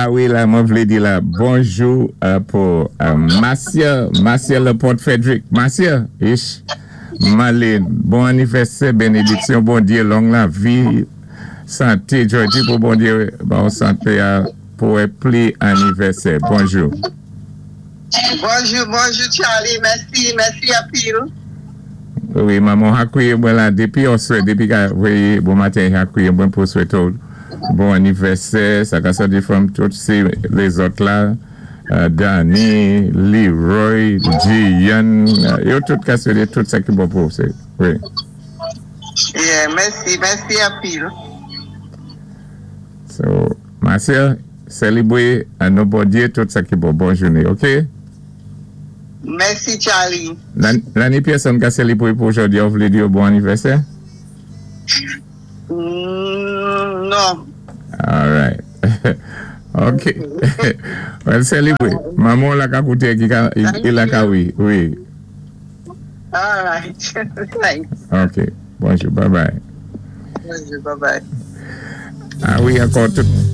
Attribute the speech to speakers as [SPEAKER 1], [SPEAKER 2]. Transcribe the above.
[SPEAKER 1] A wi, la, mwen vlé di la, bonjou pou Marcia, Marcia Laporte Frederick. Marcia, ish, Marlene, bon anivèsè, bénédiksyon Bondyé, long lavi, santé, Georgie, pou Bondyé, bon santé a, pou wè pli anivèsè. Bonjou.
[SPEAKER 2] Bonjou, bonjou, Charlie. Mèsi, mèsi anpil.
[SPEAKER 1] Wi, manman a kwiyé mwen la dépi oswè, dépi ka véyé bon maten, a kwiyé mwen pou swété bon anivèsè, sa ka sòti from tout sé lézòt la, Danny, Leroy, Gian, yo tout ka swété tout sa ki bon pou sé, wi.
[SPEAKER 2] Yeah, mèsi, mèsi anpil.
[SPEAKER 1] So, Marcia, sélébwé an non Bondyé tout sa ki bon. Bon jouné, OK?
[SPEAKER 2] Mèsi, Charlie.
[SPEAKER 1] La ni pèsonn ka sélébwé pou jòdi, ou vlé di bon anivèsè?
[SPEAKER 2] Non.
[SPEAKER 1] All right. OK. Well, sélébwé. Manman la ka kouté ki ka, i la ka wi, wi.
[SPEAKER 2] All right. Thanks.
[SPEAKER 1] OK. Bonjou. Bye bye.
[SPEAKER 2] Bonjou. Bye bye.
[SPEAKER 1] A wi, ankò tout.